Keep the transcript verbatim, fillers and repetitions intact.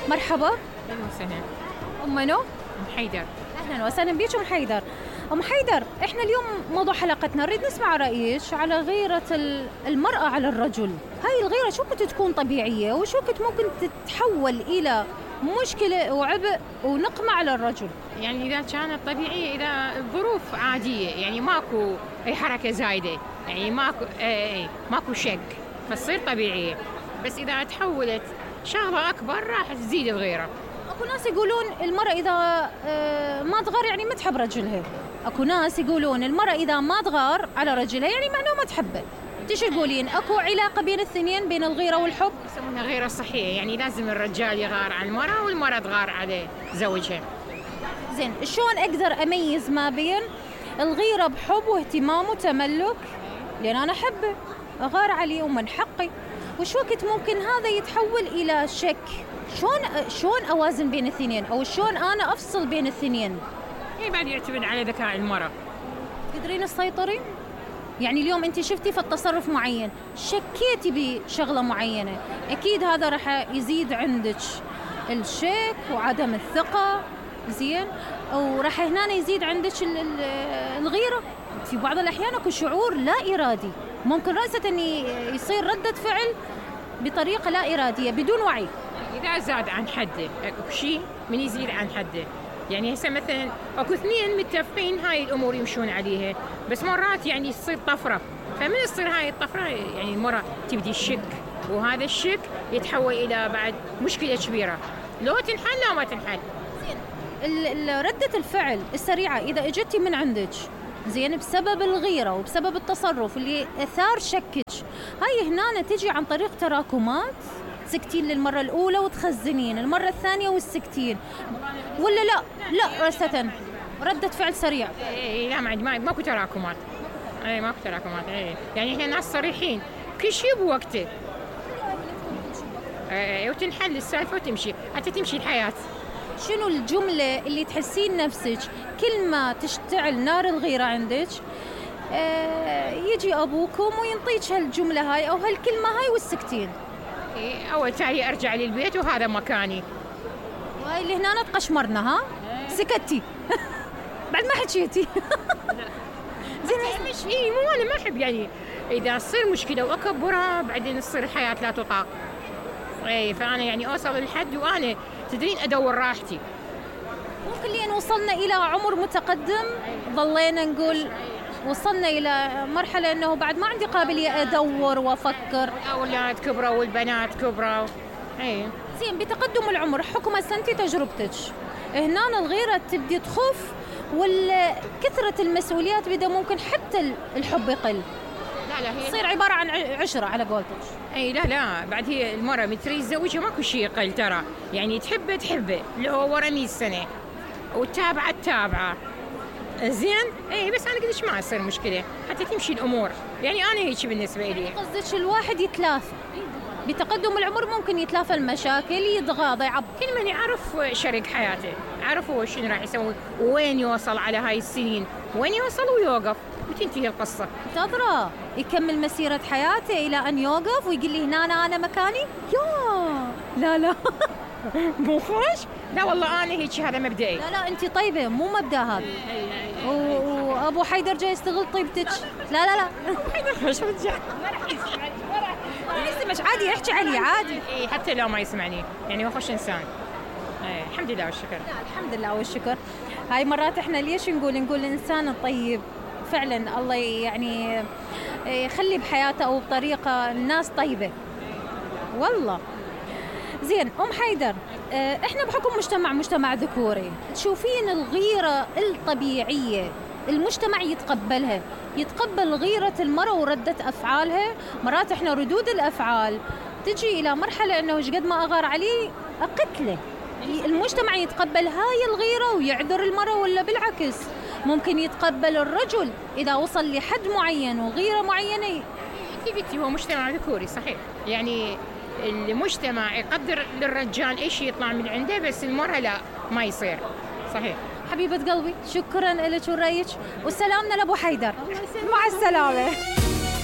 مرحبا. أهلا وسهلا. أم منو؟ أم حيدر. أهلا وسهلا بيك أم حيدر. أم حيدر، إحنا اليوم موضوع حلقتنا نريد نسمع رأيك على غيرة المرأة على الرجل. هاي الغيرة شو كنت تكون طبيعية وشو كنت ممكن تتحول إلى مشكلة وعبء ونقمة على الرجل؟ يعني إذا كانت طبيعية، إذا الظروف عادية، يعني ماكو أي حركة زايدة، يعني ماكو أي ماكو شك، فتصير طبيعية. بس إذا تحولت شغلة أكبر راح تزيد الغيرة. أكو ناس يقولون المرأة إذا ما تغار يعني ما تحب رجلها. أكو ناس يقولون المرأة إذا ما تغار على رجلها يعني معناه ما تحبه. انت شو تقولين؟ اكو علاقه بين الاثنين، بين الغيره والحب؟ يسمونها غيره صحيه، يعني لازم الرجال يغار على المراه والمراه تغار على زوجها. زين، شلون اقدر اميز ما بين الغيره بحب واهتمام وتملك؟ لان انا احبه اغار عليه ومن حقي، وش وقت ممكن هذا يتحول الى شك؟ شلون شلون اوازن بين الاثنين، او شلون انا افصل بين الاثنين؟ يعني بعد يعتمد على ذكاء المراه. تقدرين تسيطرين؟ يعني اليوم انت شفتي في التصرف معين، شكيتي بشغله معينه، اكيد هذا راح يزيد عندك الشك وعدم الثقه، زين، وراح هنا يزيد عندك الغيره. في بعض الاحيان اكو شعور لا ارادي، ممكن راسا ان يصير رده فعل بطريقه لا اراديه بدون وعي. اذا زاد عن حده، اكو شيء من يزيد عن حده، يعني هسه مثلا اكو اثنين متفقين هاي الامور يمشون عليها، بس مرات يعني تصير طفره، فمن تصير هاي الطفره يعني المراه تبدي الشك، وهذا الشك يتحول الى بعد مشكله كبيره، لو تنحل لو ما تنحل. زين، رده الفعل السريعه اذا اجتي من عندك، زين، بسبب الغيره وبسبب التصرف اللي اثار شكك، هاي هنا تجي عن طريق تراكمات، تسكتين للمرة الأولى وتخزنين المرة الثانية والسكتين، ولا لا لا رسة ردة فعل سريع؟ اي لا، ما ما ماكو تراكمات، اي ماكو تراكمات، اي يعني احنا ناس صريحين، كل شيء بوقته، اي وتنحل السالفة وتمشي، حتى تمشي الحياة. شنو الجملة اللي تحسين نفسك كل ما تشتعل نار الغيرة عندك اه يجي أبوكم وينطيك هالجملة هاي أو هالكلمة هاي والسكتين؟ أول تالي أرجع للبيت وهذا مكاني. وهاي اللي هنا تقشمرنا، ها؟ سكتي بعد ما حكيتي. زين مش إيه مو أنا ما أحب، يعني إذا تصير مشكلة وأكبرها بعدين تصير الحياة لا تطاق. إيه فأنا يعني أوصل للحد وأنا تدرين أدور راحتي. ممكن لين وصلنا إلى عمر متقدم ظلينا نقول وصلنا إلى مرحلة أنه بعد ما عندي قابلية أدور وأفكر. الأولاد كبروا والبنات كبروا. أي. زين، بتقدم العمر حكم سنتي تجربتك، هنا الغيرة تبدي تخف والكثرة المسؤوليات بدأ ممكن حتى الحب يقل. لا لا، هي تصير عبارة عن عشرة على قولتك. أي لا لا، بعد هي المرة متري زوجها ماكو شيء يقل ترى، يعني تحبه تحبه لو ورا مية سنة وتابعة تابعة. زين، اي بس انا قلت ما يصير مشكله حتى تمشي الامور، يعني انا هيك بالنسبه لي. قصدك الواحد يتلافى بتقدم العمر، ممكن يتلافى المشاكل، يتغاضى، يعب كل من يعرف شريك حياته، عرفوا شنو راح يسوي وين يوصل على هاي السنين، وين يوصل ويوقف وتنتهي القصه. تدرى يكمل مسيره حياته الى ان يوقف ويقول لي هنا انا انا مكاني؟ يا لا لا مو خوش؟ لا والله انا هيك، هذا مبدئي. لا لا انت طيبه، مو مبدا هذا. وابو حيدر جاي يستغل طيبتك. لا لا لا حيدر مش رجع، يسمعش عادي، يحكي علي عادي. اي حتى لو ما يسمعني، يعني هو خوش انسان. اي الحمد لله والشكر. لا الحمد لله والشكر. هاي مرات احنا ليش نقول نقول الانسان الطيب فعلا الله يعني يخلي بحياته او بطريقه الناس طيبه والله. زين ام حيدر، احنا بحكم مجتمع مجتمع ذكوري، تشوفين الغيرة الطبيعية المجتمع يتقبلها، يتقبل غيرة المرأة وردة أفعالها؟ مرات احنا ردود الأفعال تجي إلى مرحلة أنه ايش قد ما أغار عليه أقتله، المجتمع يتقبل هاي الغيرة ويعذر المرأة، ولا بالعكس ممكن يتقبل الرجل إذا وصل لحد معين وغيرة معينة؟ انت هو مجتمع ذكوري صحيح، يعني المجتمع يقدر للرجال ايش يطلع من عنده، بس المرأة لا، ما يصير. صحيح حبيبة قلبي، شكرا لك ورأيك، وسلامنا لأبو حيدر. مع السلامة.